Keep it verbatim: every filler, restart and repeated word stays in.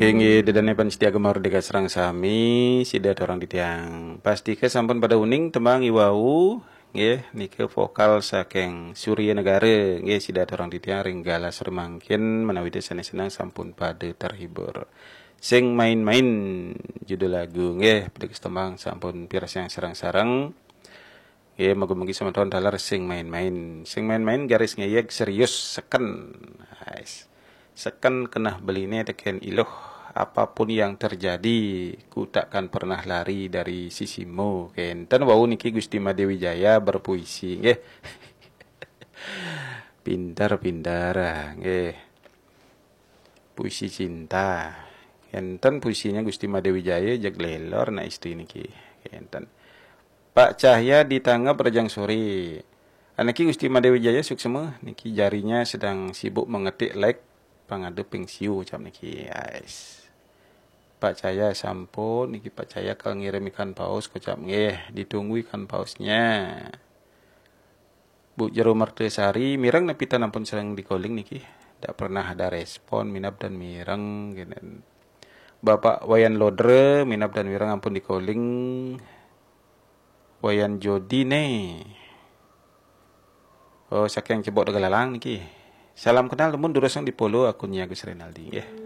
Inggih, ida dané pamiarsa Gema Merdeka sareng sami, sida aturang titiang. Pastika sampun pada uning tembang iwau, nggih, nika vokal saking Surya Negara, nggih, sida aturang titiang ring galah sore mangkin, menawi ida sané seneng sampun pada terhibur. Sing main-main judul lagu, nggih, piteges tembang sampun piarsayang sareng-sareng. Nggih, mugi-mugi semeton taler sing main-main. Sing main-main garis ngéyég serius seken. Ais. Seken keneh beliné tekén iluh. Apapun yang terjadi, ku takkan pernah lari dari sisimu. Kénten wau niki Gusti Madé Wijaya berpuisi, nggih. Pinter-pinter, ah, nggih. Puisi cinta. Kénten puisinya Gusti Madé Wijaya, jeg lélor nak istri niki. Kénten. Pak Cahya di Tangeb Rejang Sore. Aniki Gusti Madé Wijaya suksma niki, jarinya sedang sibuk mengetik like pangada ping siu, ucap niki. Ais. Pak Cahya sampun niki, Pak Cahya kal ngirim ikan paus, kocap nggih, ditunggu ikan pausnya. Bu Jero Mertasari, mireng napi tan ampun sering di-calling niki. Ndak pernah ada respon, minab dan mireng, gini. Bapak Wayan Lodre, minab dan mireng ampun di-calling. Wayan Jodi né. Oh, saking Cebok Tegalalang niki. Salam kenal, temun durusang di-follow akunnya Gus Renaldi, nggih.